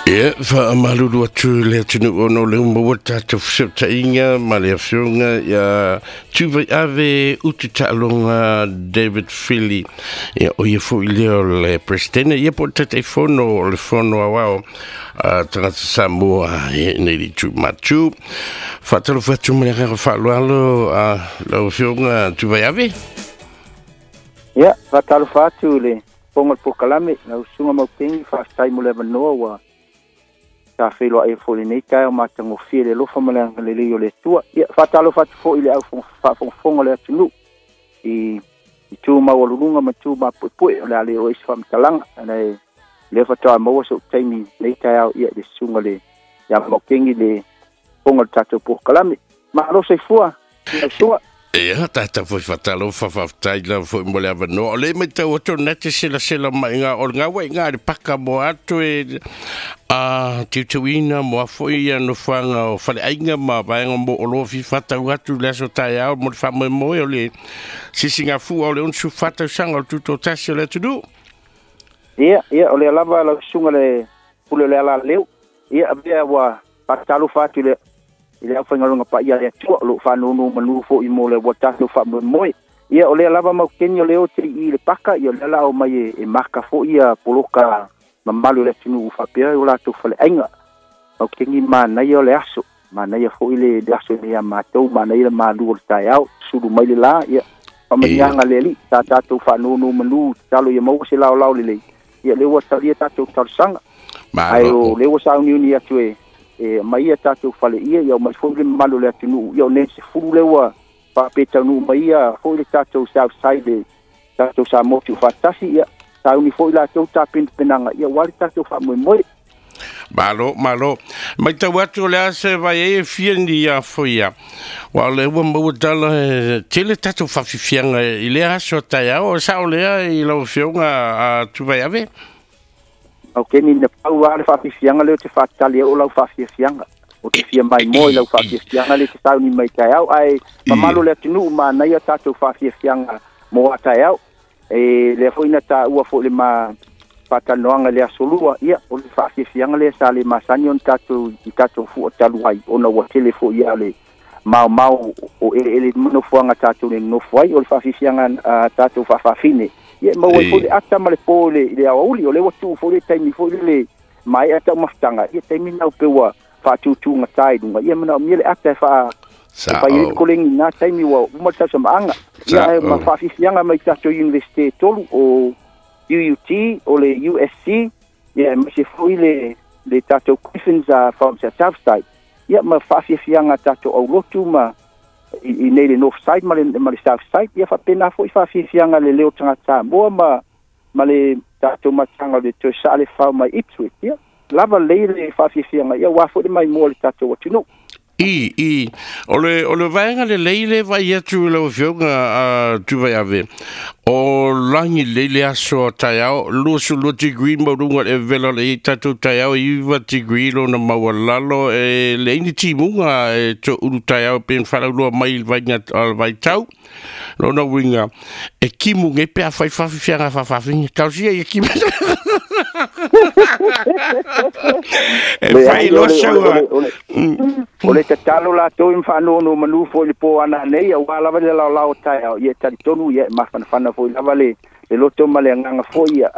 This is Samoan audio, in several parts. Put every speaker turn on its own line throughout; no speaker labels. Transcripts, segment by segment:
Ia, faamalulu atu le atunuu ona o le uma ua tatou fesootaiga ma le afioga ia Tuvaiave Ututaaloga David Fili. Ia, o ia foi lea o le Presidente, ia po o le Taitaifono o le Fono Aoao a Tagata Samoa i nei le itu matu. Faatalofa atu ma le agaga faaaloalo a lau afioga Tuvaiave.
Ia, faatalofa atu i le fofoga o le polokalame, lau susuga Maukeni, faafetai mo le avanoa ua tafeiloai ai foi i lenei taeao matagofie le alofa ma le agalelei o le Atua. Ia, faatalofa atu foi i le au faafogafoga o le atunuu i itu maualuluga ma itu mapuepue, o le a le oo ai se faamatalaga. Le lea faatoa maua sou taimi lenei taeao, ia, i le susuga le ia Maukeni le fofoga o le tatou polokalame. Malo soifua, lau susuga.
Ia, tatou foi faatalofa, faafetai lava foi mo le avanoa. O lea e matau atu o lena e te selasela mai i ina, o le gaua i ina i le paka mo atu e a tiutuina mo a foi ia nofoaga o faleaiga ma vaega mo o loa fia faatau atu le aso taeao mo le faamoemoe o le sisigafua o le 64 tausaga o le tutoatasi o le atunuu.
Ia, ia, o lea lava lau susuga le pule o le alaleu. Ia, avea ua faatalofa atu i le aufaigaluega paia a le Atua, o lo o faanonomanu foi mo le ua tatou faamoemoe. Ia, o lea lava Maukeni o lea o te i le paka, ia o lea la o mai e maka foi ia poloka mamalu o le atunuu faapea o latou faleaiga. Maukeni, manaia o le aso, manaia foi le aso nei a matou, manaia le malu o le taeao, sulu mai le la, ia, faamanuiaga le Alii, sa tatou faanonomanu, tatalo ia maua se laolao lelei, ia lea ua talia tatou talosaga. Ae o lea ua sauniuni atu e mai ia tatou faleia, ia mai foi le mamalu o le atunuu, ia o nei 10 lea ua faapetaunuu mai ia foi le tatou South Side, le tatou Samoa Tuufaatasi, ia sauni foi latou tapenapenaga, ia ua le tatou faamoemoe.
Malo, malo. Matau atu o le a se vai ai e fia ni ia foi ia. Ua o lea ua maua tala e tele tatou faafiafiaga i lea aso taeao, o sao lea i lau afioga a Tuvaiave?
Ok, ni na pau lava le faafiafiaga lea ou te faatali ai o lau faafiafiaga. O te fia mai moe i lau faafiafiaga lea te sauni mai taeao. Ae mamalu o le atunuu, manaia tatou faafiafiaga mo a taeao. E lea foi na taua foi le ma faatalanoaga i le aso lua, ia, o le faafiafiaga lea sa le masani ona tatou i tatou fua talu ai, ona ua tele foi ia le maomao o eleele nofoaga tatou le nofo ai, o le faafiafiaga tatou faafafine. Ia, maua ai foi le ata ma le po i le aoauli, o lea ua tuu foi le taimi foi le maea taumafataga, ia taimi nau pe ua faatutugata i luga, ia manaomia le ata e fai ai le kolegi na taimi ua uma le tausamaaga. Ia, ae ma faafiafiaga mai tatou Universite e tolu, o UUT, o le USC, ia aemaise foi le tatou Griffins from South Side. Ia ma faafiafiaga tatou aulotu ma i nei le North Side ma le South Side, ia faapena foi faafiafiaga le leo tagata Samoa ma le tatou mataga o le toe saa le fao mai Ipswich. Ia, lava lelei le faafiafiaga, ia ua foi le maimoa le tatou atunuu.
I, o le vaega lelei le vai atu i lau afioga a Tuvaiave, o lagi lelei le aso a taeao, 22 degree maualuga le vela o le i tatou taeao, 9 degree lona maualalo, e leai ni timuga e toulu taeao pe faalauloa mai i le vaiga o le vaitau. Lona uiga, e kimu nei pe a fai faafiafiaga faafafine, talosia ia kimu. E fai loa saua.
O le tatalo latou i mafaanonomanu foi le po ana nei, aua lava le laolao taeao, ia talitonu, ia e mafanafana foi lava le loto ma le agaga foi, ia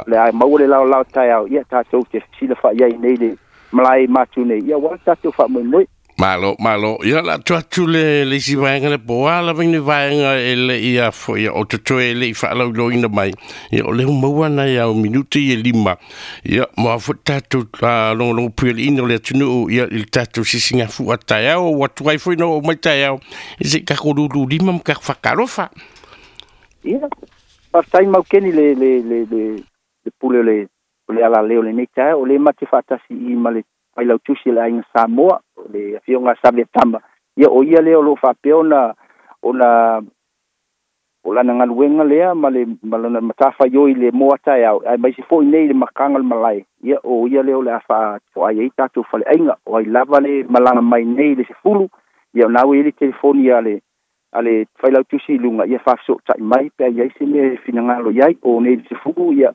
le a maua le laolao taeao, ia tatou te silafai ai nei le malae matu nei, ia ua tatou faamoemoe.
Malo, malo. Ia la atu atu le isi vaega le po a lava ni vaega e le ia foi o totoe e le i faalauiloina mai. Ia o lea maua nai au minuti e 5. Ia mo a foi tatou logologo puialiina o le atunuu, ia i le tatou sisigafua taeao, ua tuai foi na oo mai taeao, i se kako lulu lima ma kako whakalofa.
Ia, faafetai Maukeni le pule o le alaleo lenei taeao, o le mate faatasi i ma le failautusi o le aiga Samoa, o le afioga Saviatama, ia o ia lea o lo o faapea ona o lana galuega lea ma le ma lana matafaioi le moa taeao, aemaise foi nei le makaga o le malae, ia o ia lea o le a faatoai ai tatou faleaiga, o ai lava le malaga mai nei le 10, ia o na ua i ai le telefoni a le failautusi i luga, ia faafesootai mai pe a i ai se mea e finagalo i ai, o nei le 10, ia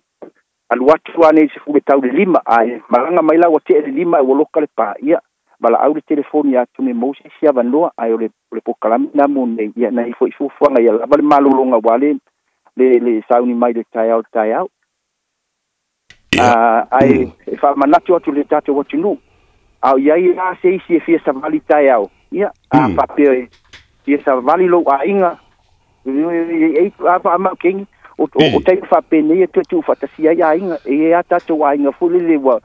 Alu atu anei se fule tau le 5 ae malaga mai la ua te'e le 5 ae ua loka le pā ia valaau le telefoni atonu e maua se isi avanoa ae o le polokalame na mo nei ia na ifo i fuafuaga ia lava le malologa ua le sauni mai le taeao le taeao. Ae e faamanatu atu le tatou atunuu a o iai la se isi e fia savali taeao ia a faapea e fia savali lou aiga e a faamaukeni o taimi faapenei e toe tuufaatasia ai aiga e iai a tatou aiga foi lele ua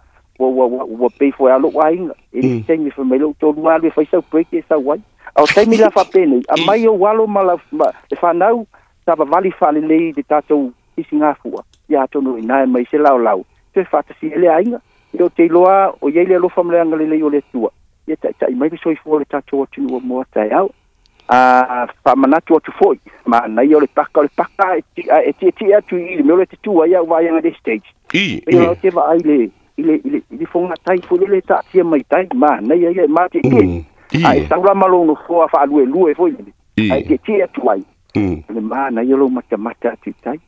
pei foi a lou aiga e le taimi fai mai lou tolu alu e fai sau break e sau ai a o taimi la faapenei aumai ou alo ma le fanau savavali faalelei le tatou isigafua ia atonu ina e mai se laolao toe faatasia le aiga e o te iloa o iai le alofa ma le agalelei o le Atua ia taitai mai le soifua o le tatou atunuu mo a taeao. A faamanatu atu foi manaia o le paka e tietie atu i le mea o le tetua ai au vaaiga le stage e o te vaai i le fogatai foi le taatia mai tai manaia ia e matietie ae sau la ma lou nofoa faaluelue foi lele ae tietie atu ai le manaia lou matamata atu i tai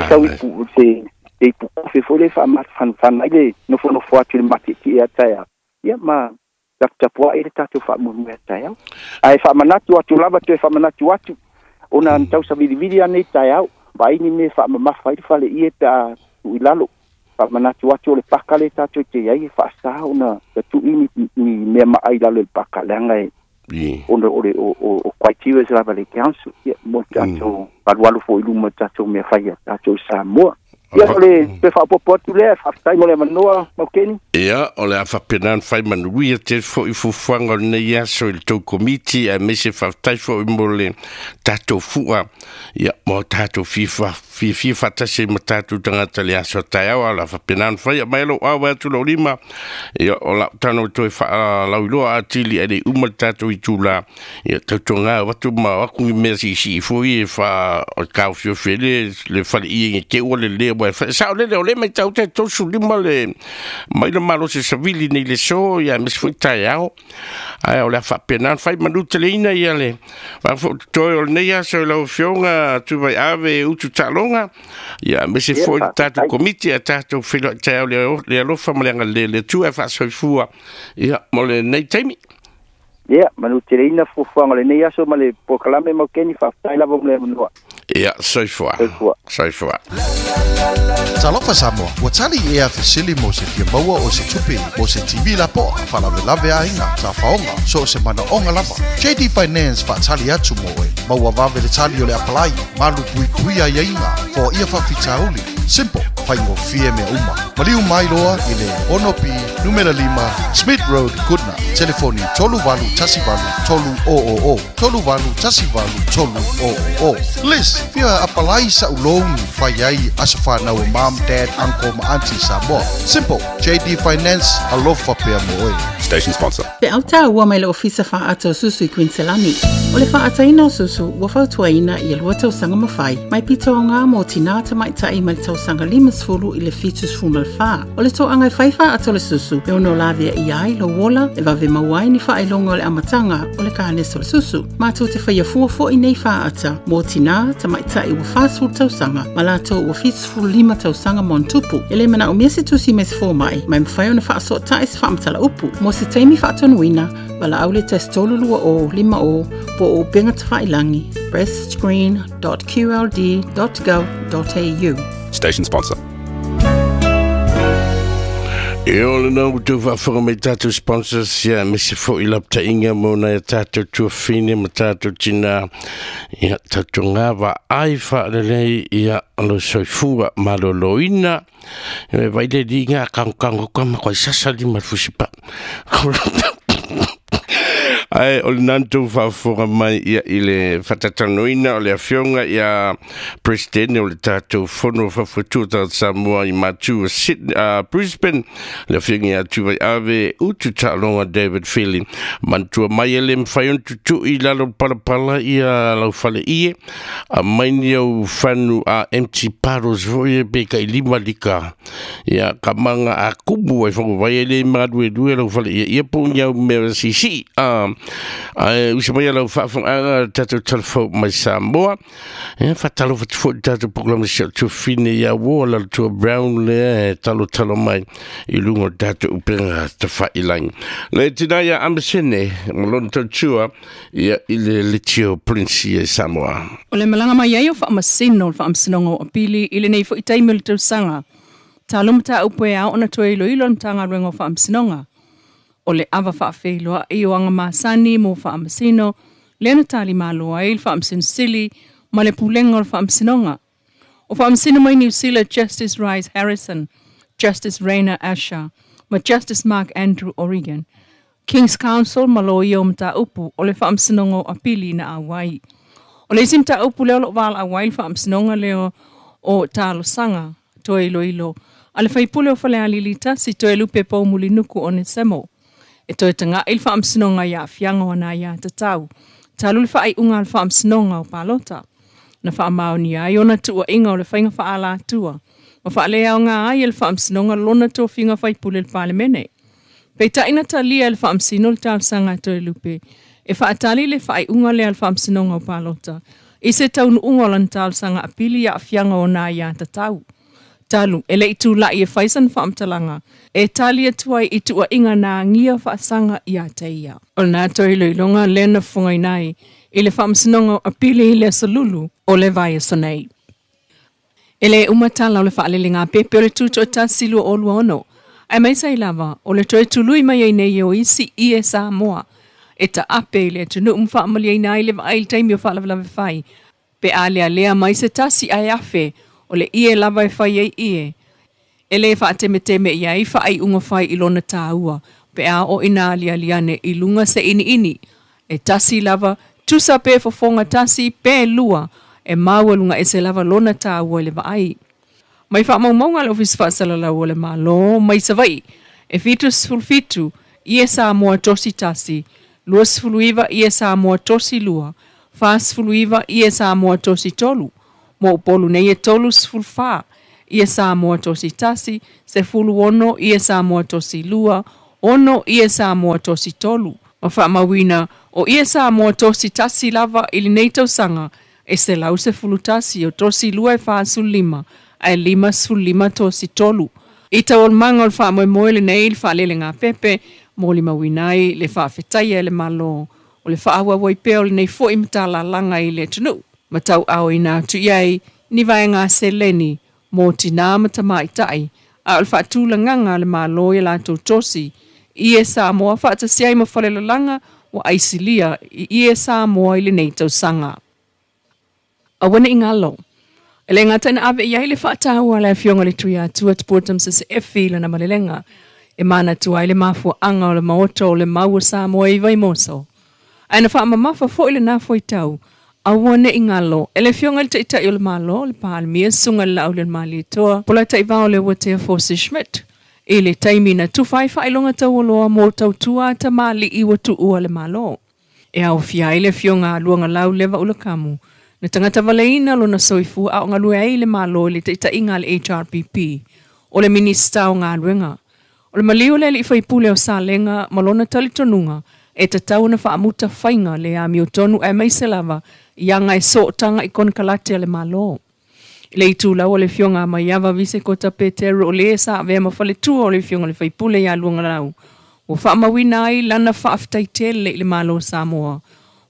sau i se te ipukofe foi le faamafanafana ai le nofonofo atu i le matietie a taeao ia ma taputapua'i le tatou faamoemoe a taeao ae faamanatu atu lava toe faamanatu atu ona tausavilivili anei taeao vaai ni mea faamamafa ai le faleie pe a tuu i lalo faamanatu atu o le paka le tatou te iai e faasā ona tatu'i ni mea maai lalo i le paka leaga e ona o le o criteria lava le council ia mo tatou alualu foi i luma tatou mea fai a tatou Samoa. Ia o le toe faaopoopo atu lea, faafetai mo le avanoa Maukeni.
Ia, o le a faapena ona fai manuia tele foi fuafuaga o lenei aso i le tou komiti aemaise faafetai foi mo le tatou fua ia mo tatou fiafia faatasi ai ma tatou tagata le aso taeao a o le a faapena ona fai mai lou awe atu lou lima ia o lau tano toe faalauiloa atili ae le uma le tatou itula ia tautoga o atu ma o atu ni mea siisii foi e fa o le taofiofi ai le faleie te ua le lea ua sao lele o le mai tau te 35 le mai le malosi savili nei le so ia aemaise foi taeao ae o le a faapena ona fai manu teleina ia le faafototoe o lenei aso i lau Afioga Tuvaiave Utu Taaloga ia aemaise foi le tatou komiti a tatou feiloai taeao le alofa ma le agalelei o le Atua e faasoifua ia mo lenei taimi.
Ia, manu teleina fuafuaga o lenei aso ma le polokalame Maukeni, faafetai lava mo le avanoa.
Ia, soifua.
Soifua.
Soifua.
Talofa Samoa, ua tali ea fesili mo se fia maua o se tupe, mo se TV lapoa, faalavelave aiga, tafaoga, so o se manaoga lava. JD Finance faatali atu mo oe. Maua vave le tali o le apalai, malu puipui aiaiga, foaia faafitauli. Simple, faigofie mea uma. Maliu mai loa i le 6B numera 5 Smith Road, Goodna. Telefoni 3818 300 3818 300. Liz, fia apalai sa'u loan fai ai aso fanau o mom, dad, uncle ma auntie Samoa. Simple, JD Finance, alofa pea mo oe.
Station sponsor.
Pe au tā ua mai le ofisa whaata o susu i Queenselani. O le whaataina o susu ua fautuaina ia lua tausaga ma fai. Mai pito o ngā mō tina tamaitai mai le tausaga 50 i le 74. O le toanga e whai whaata o le susu e ono lavea i ai lo wola e vave mauai ni whaelonga o le amatanga o le kānesa o le susu. Mātou te whaia fua fo i nei whaata mō tina tamaitai ua 40 tausaga ma latou ua 75 tausaga ma ona tupu. E le manaomia se tusi mai se fomai, mai mawhai ona whaasoatai se whaamatala upu. Mo se taimi faatonuina, valaau le 1 3 20 5 o po o upega tafailagi breastscreen.qld.gov.au.
Station sponsor.
E o le nau tau faafofoga mai tatou sponsors ia aemaise foi lapata'iga mo nai a tatou tuafine ma tatou tinā ia tautoga vaai faalelei ia o lo soifua malōlōina e vai le liga kagokago ka ma koai sasa lima le fusipa'a ae o le nanu faafofoga mai ia i le faatalanoaina o le afioga ia president o le tatou fono faafoetua tagata Samoa i matu o Sydney, Brisbane, le afioga ia Tuvaiave Utu Taaloga David Fili. Manatua mai e le mafai ona tutu'i lalo palapala ia lau faleie aumai ni au fanu a empty bottles foi e pe kai 5 lika ia kamaga a kumu ai whakawai e le maluelue lau faleie ia po ni au mea sisi a Ae usa mai lau faafogaaga tatou talafou mai Samoa. Ia faatalofa atu foi i tatou polokalame si o tuafine ia uo la tua Brown lea e talotalo mai i luga o tatou upega tafailagi. Le tina ia Amasene ma lona tautua ia i le Litio Polynesia i Samoa.
O le malaga mai ai o faamasino o le Faamasinoga o Apili i lenei foi taimi o le tausaga. Talo mataupu e ao ona toe iloilo le Matagaluega o Faamasinoga. O le ava faafeiloai o aga masani mo faamasino, lea na talimalo ai le Faamasino Sili ma le Pulega o le Faamasinoga. O faamasino mai Niu Sila Justice Rice Harrison, Justice Rainer Asher ma Justice Mark Andrew O'Regan, King's Counsel ma loia o mataupu o le Faamasinoga o Apili na auai. O le isi mataupu lea o loo valaau ai le Faamasinoga lea o talosaga toe iloilo a le faipule o Falealili 1 Toelupe Poumulinuku Onesemo. E toe taga'i le Faamasinoga i aafiaga o ana aiā tatau talu le faaiuga a le Faamasinoga o Palota na faamaonia ai ona tuuaiga o le faiga faaalatua ma faaleaoga ai e le Faamasinoga lona tofiga faipule le Palemene. Peitai na talia e le Faamasino le talosaga a Toelupe e faatali le faaiuga lea a le Faamasinoga o Palota i se taunuuga o lana talosaga apili i aafiaga o ona aiā tatau. Talu e lei tula'i e fai sana faamatalaga e tali atu ai i tuuaiga na agia faasaga ia te ia. O lena toe iloiloga lea na fofogaina ai i le Faamasinoga o Apili i le aso Lulu o le vaiaso nei. E lē uma tala o le faalelegāpepe o le Tutoatasi 2026, aemaise ai lava o le toe tului mai ai nei o isi ie Samoa e taape i le atunuu ma faamalieina ai le vaai i le taimi o faalavelave fai pe a lealea mai se tasi ae afe o le ie lava e fai ai ie. E lē faatemeteme i ai faaiuga fai i lona tāua pe a oo ina aliali ane i luga se iniini e tasi lava tusa pe fofoga tasi pe lua e maualuga ese lava lona tāua i le vaai. Mai faamaumauga a le Ofisa Faasalalau o le Malo mai Savaii e 77 ie Samoa tosi tasi, 29 ie Samoa tosi lua, 49 ie Samoa tosi tolu, mo Upolu nei e 34 ie Samoa tosi tasi, 16 ie Samoa tosi lua, 6 ie Samoa tosi tolu. Ma faamauina o ie Samoa tosi tasi lava i lenei tausaga e 111 o tosi lua e 45 ae 55 tosi tolu. I taualumaga o le faamoemoe lenei le faalelegāpepe molimauina ai le faafetaia e le Malo o le faaauau ai pea o lenei foi matalalaga i le atunuu ma tauaaoina atu i ai ni vaega seleni mo tinā ma tamaitai a o le faatulagaga a le Malo i a latou tosi ie Samoa faatasi ai ma falelalaga ua aisilia i ie Samoa i lenei tausaga. Aua ne i galo, e le gata ina ave i ai le faataua a le Afioga i le Tuiatua Tupua Tamasese Efi i lana malelega e manatua ai le mafuaaga o le Maota o le Mau o Samoa i Vaimoso, ae na faamamafa foi lena fuaitau aua ne i galo e le Afioga i le Taitai o le Malo, le Palemia, Susuga i le Laaulialemalietoa, Polataivao Leuatea Force Schmidt, i le taimi na tufa ai faailoga taualoa mo tautua a tamalii ua tuua le Malo. E aofia ai le Afioga a Luagalau Leva Ulakamu, na tagata valeina lona soifua a o galue ai i le Malo i le taitaiga a le HRPP, o le Minisita o Galuega. O le maliu o le alii faipule o Salega ma lona talitonuga e tatau ona faamuta faiga le amiotonu aemaise lava i aga e sootaga i konekarate a le Malo. I le itulau o le Afioga a Maiava Visekota Petero o le sa avea ma faletua o le Afioga i le Faipule ia Luagalau, ua faamauina ai lana faafetai tele i le Malo o Samoa.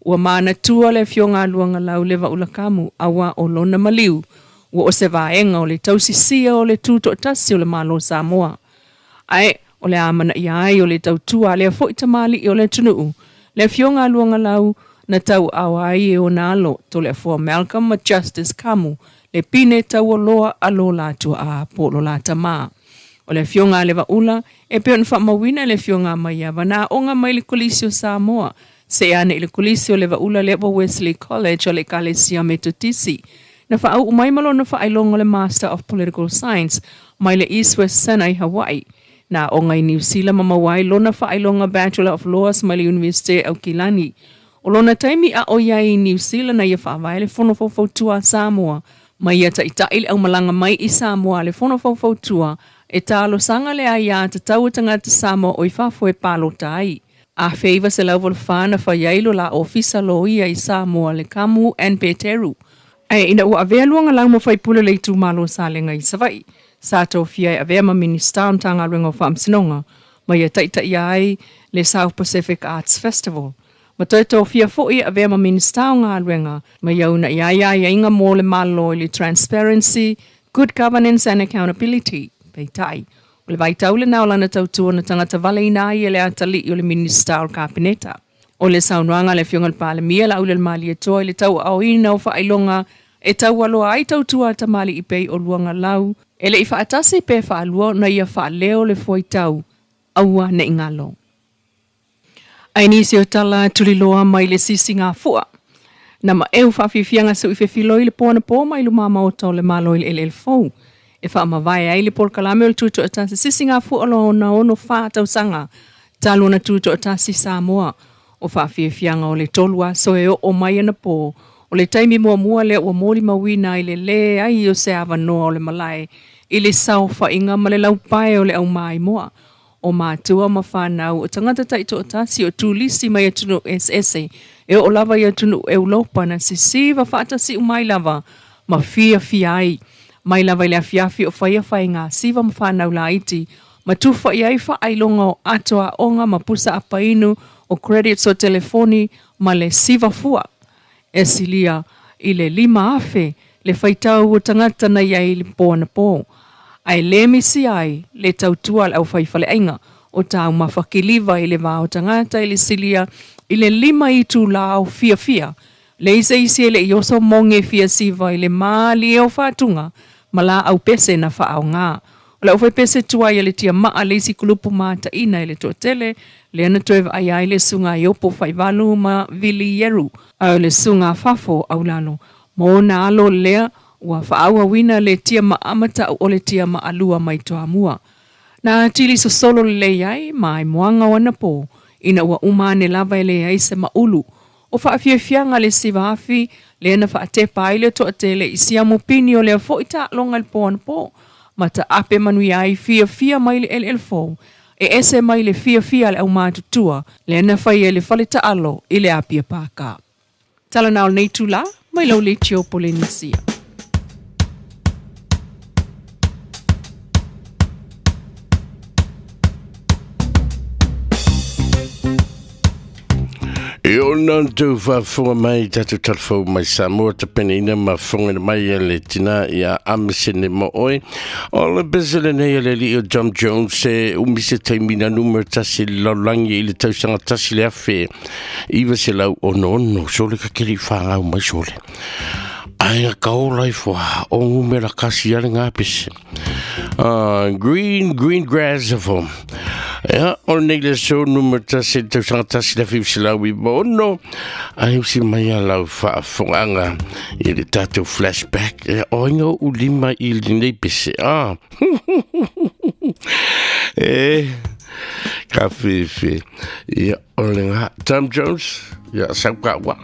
Ua manatua le Afioga a Luagalau Leva Ulakamu auā o lona maliu ua o se vaega o le tausisia o le tutoatasi o le Malo o Samoa. Ae o le amanaia ai o le tautua a lea foi tamalii o le atunuu, le Afioga a Luagalau na tauaao ai e ona alo Toleafoa Malcolm ma Justice Kamu le pine taualoa a lo la tuaa po o lo la tama. O le Afioga a Levaula e pei ona faamauina e le Afioga a Maiava na aoga mai le Kolisi o Samoa seia ane i le Kolisi o Levaula lea ua Wesley College o le Ekalesia Metotisi. Na faauu mai ma lona faailoga o le Master of Political Science mai le East West Center i Hawaii. Na aoga i Niu Sila ma maua ai lona faailoga Bachelor of Laws mai le Iunivesite Aukilani. O lona taimi a o i ai i Niu Sila na ia faavae le Fono Faufautua a Samoa ma ia taitai le aumalaga mai i Samoa a le Fono Faufautua e talosaga le aiā tatau a tagata Samoa o i fafo e palota ai. A feiva se lau volfana fa iailo la ofisa loia i Samoa le Kamu and Peteru. Ae ina ua avea luaga lau ma faipule le itumalo o Salega i Savaii, sa tofia e avea ma Minista o Matagaluega o Faamasinoga ma ia taitaia ai le South Pacific Arts Festival. Ma toe tofia foi e avea ma Minista o Galuega ma ia unaia ai aiaiga mo le Malo i le Transparency, Good Governance and Accountability. Peitai, o le vaitau lena o lana tautua na tagata valeina ai e le atalii o le Minista o le Kapeneta. O le saunoaga a le Afioga i le Palemia Laaulialemalietoa i le tauaaoina o faailoga e taualoa ai tautua a tamalii pei o Luagalau e le i faatasi pe faalua ona ia faaleo le fuaitau aua ne i galo. Ae nisi o tala tuliloa mai le sisigafua. Na maeu faafiafiaga suʻi fefiloi le po anapo mai lumā maota o le Malo i le eleele fou e faamavae ai le polokalame o le Tutoatasi sisigafua lona 64 tausaga talu ona tutoatasi Samoa. O faafiafiaga o le 3 aso e oo mai anapo o le taimi muamua lea ua molimauina ai le leai o se avanoa o le malae i le saofaiga ma le laupae o le aumaimoa o matua ma whanau o tangata taitoatasi o tulisi mai atunuu eseese e oo lava i atunuu Europa na sisiva faatasi umai lava ma fiafia ai mai lava i le afiafi o faia faiga siva ma whanau laiti ma tufa i ai faailoga o ato aoga ma pusa apainu o credits o telefoni ma le siva fua e silia i le 5,000 le faitau o tagata na iai i le po anapo. Ae le misi ai le tautua le aufaifaleaiga o taumafakiliva i le va o tagata i le silia i le 5 itulā o fiafia le iseisi e leʻi oso moge fiasiva i le malie o faatuga ma laau pese na faaogā. O le aufaipese tuai a le tiamaa le isi kulupu mataʻina i le toatele lea na toe vaai ai le suga iopo faivalu ma Vili Ieru ae o le suga fafo aulalo ma ona alo lea ua faaauauina le tiamaa ma taʻu o le tiamaa lua mai Toamua. Na atili sosolo lelei ai ma aimoaga o anapo ina ua uma ane lava e leai se maʻulu. O faafiafiaga le siva afi lea na faatepa ai le toatele i siamu pini o lea foʻi taaloga i le po anapo ma taape manuia ai fiafia mai le eleele fou e ese mai le fiafia a le aumatutua lea na faia i le fale taalo i le Apia Pākā. Tala na o lenei itulā mai lau leitio Polenisia.
E ona tau faafofoga mai tatou talafou mai Samoa tapenaina ma fofogaina mai a le tina ia Amesene mo oe. O le pese lenei a le alii o Tom Jones e umi se taimi na numera 1 i le lalolagi i le tausaga 1966 sole ka keli whangau mai sole. Ai ka ola ifo o ngumera kasi ale ngā pese. Green, green grass of home. Ia, o nei le so numera 1 tausaga 1996 ai usi mai a lau faafoganga i le tatou flashback. Ia, o inga o lima i lenei pese. E, ka fefe. Ia, o le ngā. Tom Jones, ia, sau ka ua.